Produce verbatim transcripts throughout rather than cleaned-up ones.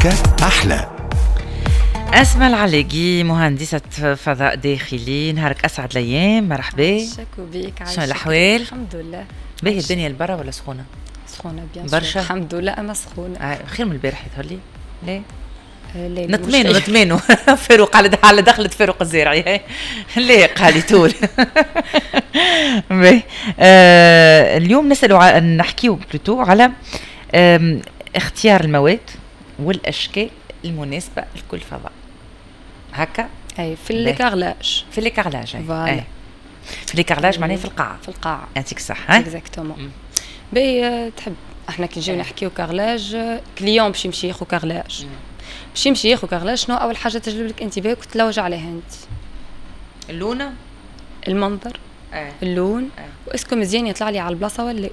هكا أحلى. أسماء العلاقي، مهندسة فضاء داخلي، نهارك أسعد الأيام، مرحبا. شكو بيك. شنو الأحوال؟ الحمد لله. باهي الدنيا البرا ولا سخونة؟ سخونة bien برشا. الحمد لله، أما سخونة. آه، خير من البارح يظهر لي، ليه؟ آه، لا. نطمانو نطمانو فاروق على على دخلة فاروق الزارعي، ليه قال طول. باهي، آه اليوم نسألوا، نحكيو plutôt على اختيار المواد والاشكال المناسبة لكل فضاء، هكا؟ اي، في les carrelages. في les carrelages. voilà. في les carrelages، معناها في القاعه. في القاعه. يعطيك الصحه. exactement. باهي، تحب احنا كي نجيو نحكيو carrelage، client باش يمشي ياخذ carrelage، باش يمشي ياخذ carrelage، شنو اول حاجة تجلب لك انتباهك وتلوج عليها انت؟ اللون. المنظر اه. اللون اه. و est-ce que مزيان يطلع لي على البلاصة ولا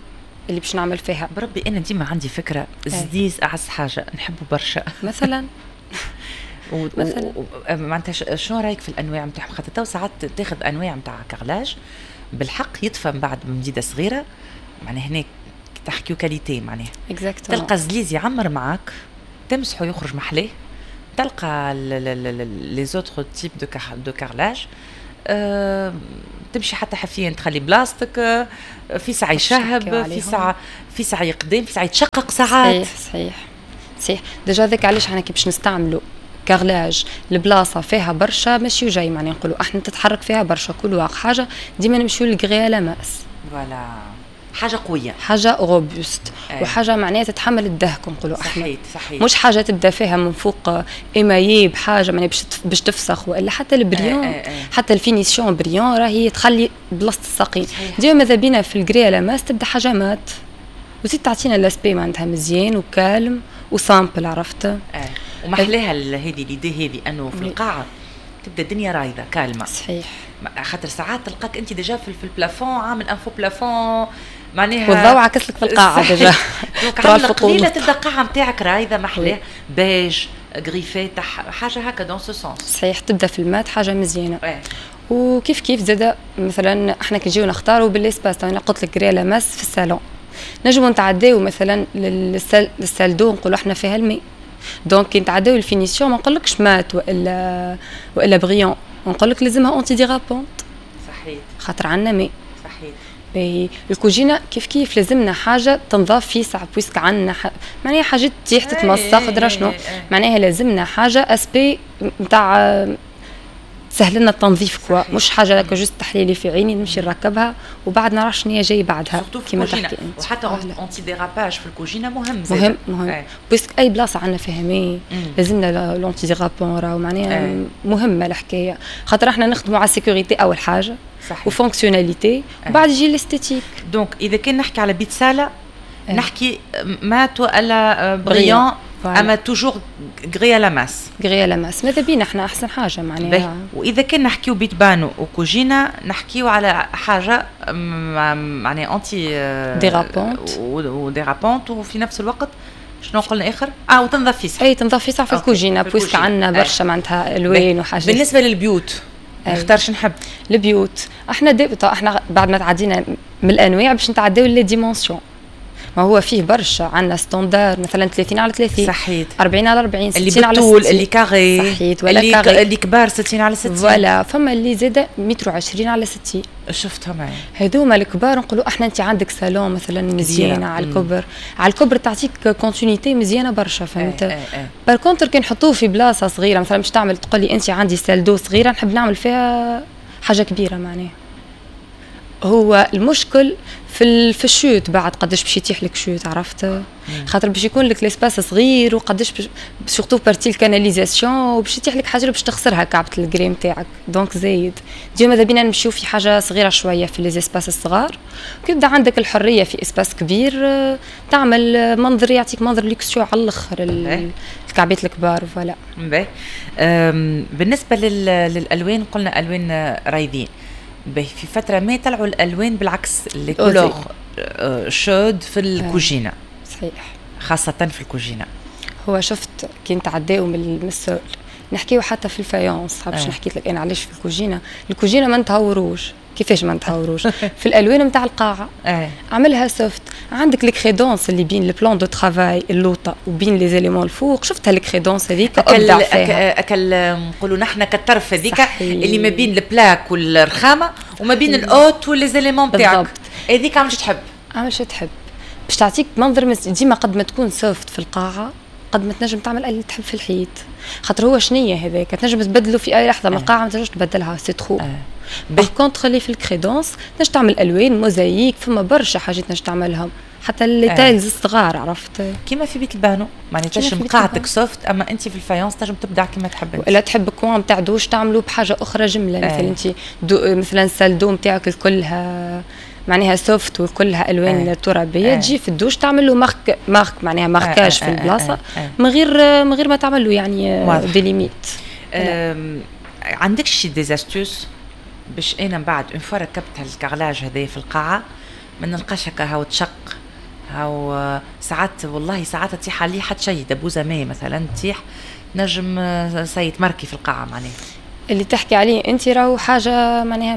اللي باش نعمل فيها. بربي انا ديما عندي فكره، زليز اعز حاجة نحبه برشا. مثلا. و... مثلا و... معناتها شنو رايك في الانواع نتاعهم؟ خاطر تو ساعات تاخذ انواع نتاع carrelage بالحق يطفى من بعد بمديده صغيره، معناها هناك تحكيو qualité معناها. exactement. تلقى زليز يعمر معاك، تمسحه يخرج محلاه، تلقى les autres types de de carrelage أه تمشي حتى حفيا تخلي بلاصتك، آه، في ساعة يشهب، في ساعة في ساعة يقدم، في ساعة يتشقق ساعات. صحيح صحيح صحيح. déjà هذاك علاش احنا كي باش نستعملوا carrelage، البلاصة فيها برشا ماشي وجاي، معناها نقولوا احنا تتحرك فيها برشا couloir حاجه، ديما نمشيو لل grès à la masse. voilà، حاجة قويه. حاجة robuste وحاجه معناها تتحمل الدهك نقولوا احنا. صحيح صحيح. مش حاجة تبدا فيها من فوق émaillé بحاجة معناها باش باش تفسخ، والا حتى ال brillant ايه ايه. حتى ال finition brillante راهي تخلي بلاصة الساقين. ديما ماذا بينا في ال grès à la masse تبدا حاجة mate وزيد تعطينا l'aspect معناتها مزيان و calme و simple، عرفت؟ اه، ومحلاها هذه l'idée هذه انه في القاعة تبدا الدنيا رايضه calme. صحيح. خاطر ساعات تلقاك انت déjà في ال plafond عامل un faux plafond معناها والضوء عكس لك في القاعة déjà. donc على القليلة تبدا القاعة نتاعك رايضه محلاه، beige، gris فاتح، حاجة هكا dans ce sens. صحيح، تبدا في ال mat حاجة مزيانه. وكيف كيف زاد مثلا احنا كي نجيو نختاروا بال espace، انا قلت لك grès à la masse في الصالون، نجمو نتعداو مثلا لل salle d'eau، نقولوا احنا فيها الماء، donc كي نتعداو ال finition ما نقولكش mat والا والا brillant، نقول لك لازمها antidérapante. صحيح. خاطر عندنا ماء. صحيح. باهي، الكوجينه كيف كيف لازمنا حاجة تنظاف في ساعه، puisque عندنا ح... معناها حاجات تطيح تتمسخ درا شنو، معناها لازمنا حاجة aspect نتاع تسهل لنا التنظيف quoi، مش حاجة هكا juste تحليلي في عيني نمشي نركبها وبعد نرى شنو هي جاي بعدها. كيما تحكي انت، وحتى antidérapage في الكوجينه مهم. مهم مهم، puisque اي بلاصة عندنا فيها ماء لازمنا l'antidérapant، راهو معناها مهمة الحكايه، خاطر احنا نخدموا على ال sécurité اول حاجة صحيح و fonctionnalité وبعد يجي l'esthétique. donc اذا كان نحكي على بيت ساله نحكي mat ولا brillant، اما toujours grès à la masse. grès à la masse ماذا بينا احنا احسن حاجة معناها. واذا كان نحكيو بيت بانو وكوجينا نحكيو على حاجة معناها anti dérapante. و dérapante، وفي نفس الوقت شنو قلنا اخر؟ اه، وتنظف في اي، تنظف في في الكوجينه puisque عندنا برشا معناتها الوان وحاجات. بالنسبة للبيوت نختار شنو نحب؟ البيوت احنا دي احنا بعد ما تعدينا من الانواع باش نتعداو les dimensions، ما هو فيه برشا، عندنا standard مثلا ثلاثين على ثلاثين، صحيت. أربعين على أربعين، اللي ستين على بالطول ستين. اللي carré. صحيت، ولا اللي carré. اللي كبار ستين على ستين. voilà، فما اللي زاد متر وعشرين على ستين. شفتهم معي. هذوما الكبار نقولوا احنا انت عندك صالون مثلا مزيانه على الكبر، على الكبر تعطيك continuité مزيانه برشا، فهمت؟ ايه ايه. par contre كي نحطوه في بلاصة صغيره، مثلا باش تعمل تقول لي انت عندي salle d'eau صغيرة نحب نعمل فيها حاجة كبيره، معناها هو المشكل في في ال chute بعد قداش باش يتيح لك chute، عرفت؟ خاطر باش يكون لك l'espace صغير وقداش surtout partie ال canalisation وباش يتيح لك حاجة باش تخسرها كعبه ال grès نتاعك، donc زايد ديما ماذا بينا نمشيو في حاجة صغيرة شوية في les espaces الصغار. كي يبدا عندك الحرية في espace كبير تعمل منظر يعطيك منظر luxueux على الاخر الكعبات الكبار، voilà. باهي، بالنسبة للالوان قلنا الوان رايضين. باهي، في فترة ما طلعوا الالوان بالعكس، les couleurs chaudes في الكوجينه. صحيح. خاصة في الكوجينه. هو شفت كي نتعداو من ال sol نحكيو حتى في ال faïence، باش نحكي لك انا علاش في الكوجينه. الكوجينه ما نتهوروش. كيفاش ما نتهوروش؟ في الالوان نتاع القاعة اه. عملها soft. عندك ال crédence اللي بين ال plan de travail اللوطه وبين les éléments الفوق، شفتها ال crédence هذيك؟ ابدع فيها. اكل نقولوا نحن كالطرف هذيك اللي ما بين ال plaque والرخامه وما بين ال hotte و les éléments تاعك، هذيك عملش تحب. عملش تحب باش تعطيك منظر ديما. قد ما تكون soft في القاعة قد ما تنجم تعمل اللي تحب في الحيط، خاطر هو شنية هذاك تنجم تبدلو في اي لحظه. من القاعة ما تنجمش تبدلها، c'est trop. par contre اللي في ال crédence تنجم تعمل الوان، موزايك، فما برشا حاجات تنجم تعملهم، حتى les tiles الصغار، عرفت؟ كيما في بيت البانو، معناتها تنجم قاعتك soft، اما انت في ال faïence تنجم تبدع كيما تحب. ولا تحب coin تاع دوش تعملوا بحاجة اخرى جمله، مثلا انت مثلا salle d'eau نتاعك كلها معناها soft وكلها الوان آه. ترابيه، آه. تجي في الدوش تعمل له marque marque معناها marquage آه. في البلاصة آه. آه. من غير من غير ما تعمل له يعني des limites. عندك شي des astuces باش انا من بعد une fois ركبت هال carrelage هذايا في القاعة ما نلقاش هكا هاو تشق، هاو ساعات والله ساعات تطيح عليه حتى شيء، دبوزه ماء مثلا تطيح نجم سيت marqué في القاعة معناها؟ اللي تحكي عليه انت راهو حاجة معناها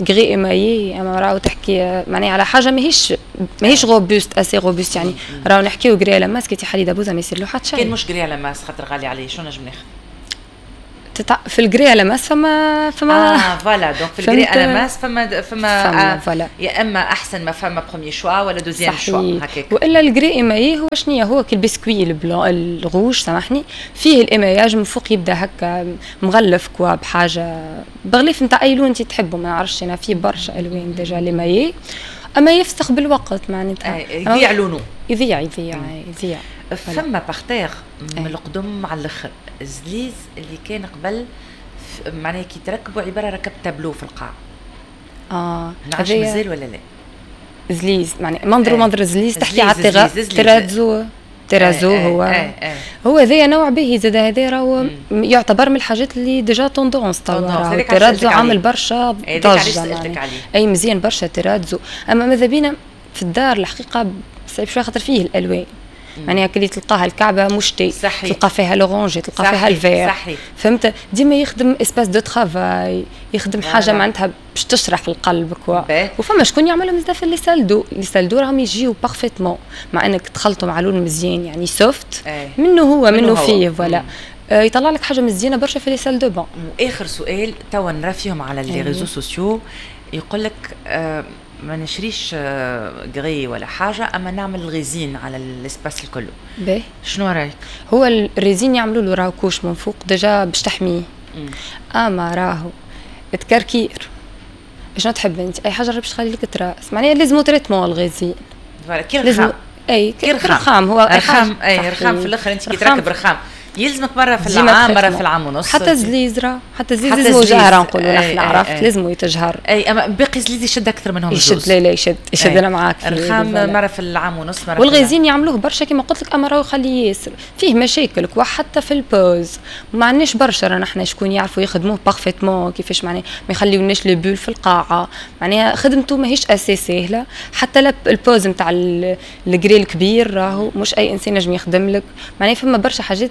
grès émaillé، اما راهو تحكي معناها على حاجة ماهيش ماهيش robuste، assez robuste. يعني راهو نحكيو grès à la masse، كي تحلي دبوزه ما يصير له حتى شيء. كان مش grès à la masse خاطر غالي عليه، شو نجم ناخذ؟ تتع... في ال grès à la masse فما فما اه voilà، donc في ال grès à la masse فما فما, فما voilà. يا اما احسن ما فما premier choix ولا deuxième choix هكاك. والا ال grès émaillé هو شنو؟ هو كي ال biscuit ال blanc، ال rouge سامحني، فيه ال émaillage من فوق، يبدا هكا مغلف quoi بحاجه، بغليف نتاع اي لون انت تحبه، ما نعرفش انا، فيه برشا الوان déjà l'émaillé، اما يفسخ بالوقت معناتها. يضيع لونه. يضيع يضيع يضيع. فما parterre من القدم على الاخر، الزليز اللي كان قبل، معناها كي تركبوا عبارة ركبت تابلو في القاع. اه نعرفش مازال ولا لا؟ زليز معناها منظر منظر زليز، تحكي على terrazzo؟ terrazzo هو اه اه هو هذايا نوع باهي زاد، هذا راهو يعتبر من الحاجات اللي déjà tendance توا. terrazzo عامل برشا ضجه. اي مزيان برشا terrazzo، اما ماذا بينا في الدار الحقيقة صعيب شوية خاطر فيه الالوان، معناها كلي تلقاها الكعبة مشتي. صحيح. تلقى فيها l'orangé، تلقى فيها ال vert. صحيح. فهمت؟ ديما يخدم espace de travail، يخدم حاجة معناتها باش تشرح القلب quoi. وفما شكون يعملهم زاد في les salles d'eau. les salles d'eau راهم يجيو parfaitement مع انك تخلطوا مع لون مزيان، يعني soft منه هو منه فيه، voilà، آه، يطلع لك حاجة مزيانه برشا في les salles de bain. واخر سؤال، توا نرى فيهم على les réseaux sociaux يقول لك آه ما نشريش grès ولا حاجه، اما نعمل résine على ال espace الكل. باهي. شنو رايك؟ هو ال résine يعملوا له راهو couche من فوق déjà باش تحميه، اما راهو تكركير. شنو تحب انت؟ اي حاجة باش تخلي لك trace، معناها لازم traitement ال résine. voilà، كي الرخام. اي كي الرخام هو. رخام، اي رخام. في الاخر انت كي تركب رخام يلزمك مرة في العام، مرة في العام ونص. حتى الزليز راه، حتى الزليز لازم جهره، نقولوا نحن، عرفت؟ لازم يتجهر. اي، اما باقي الزليز يشد اكثر منهم. يشد، لا لا، يشد يشد، انا معاك. الرخام مرة في العام ونص مرة. وال résine يعملوه برشا كما قلت لك، اما راهو يخليه ياسر فيه مشاكل quoi، حتى في ال pose ما عندناش برشا راه نحن شكون يعرفوا يخدموه parfaitement كيفاش، معناها ما يخليوناش les bulles في القاعه، معناها خدمته ماهيش assez ساهله. حتى ال pose نتاع ال grès الكبير راهو مش اي انسان نجم يخدم لك، معناها فما برشا حاجات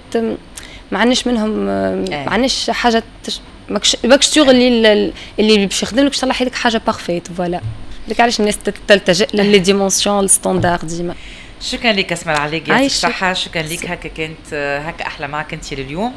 ما عندناش منهم، ما عندناش حاجة تش... ماكش ماكش sûr اللي اللي باش يخدم لك باش يطلع لك حاجة parfaite، voilà، لك علاش الناس تلتجئ ل les dimensions standard ديما. شكرا لك اسماء عليك، يعطيك الصحة، شكرا لك. هكا كانت هكا أحلى معك أنت لليوم،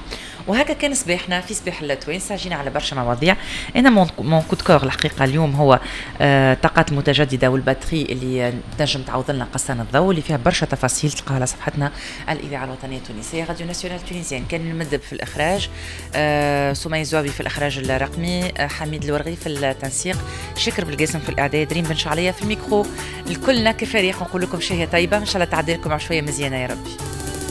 وهكا كان صباحنا في صباح التوانسة. جينا على برشا مواضيع. انا mon coup de cœur الحقيقة اليوم هو الطاقات المتجددة وال batterie اللي تنجم تعوض لنا قصان الضوء، اللي فيها برشا تفاصيل تلقاها على صفحتنا الاذاعة الوطنية التونسية radio nationale tunisienne. كان المدب في الاخراج، آه، سمية الزوابي في الاخراج الرقمي، آه، حميد الورغي في التنسيق، شكر بالقاسم في الاعداد، ريم بن شعليه في الميكرو. الكلنا كفريق نقول لكم شهية طيبه، ان شاء الله تعدي لكم عشويه مزيانه يا ربي.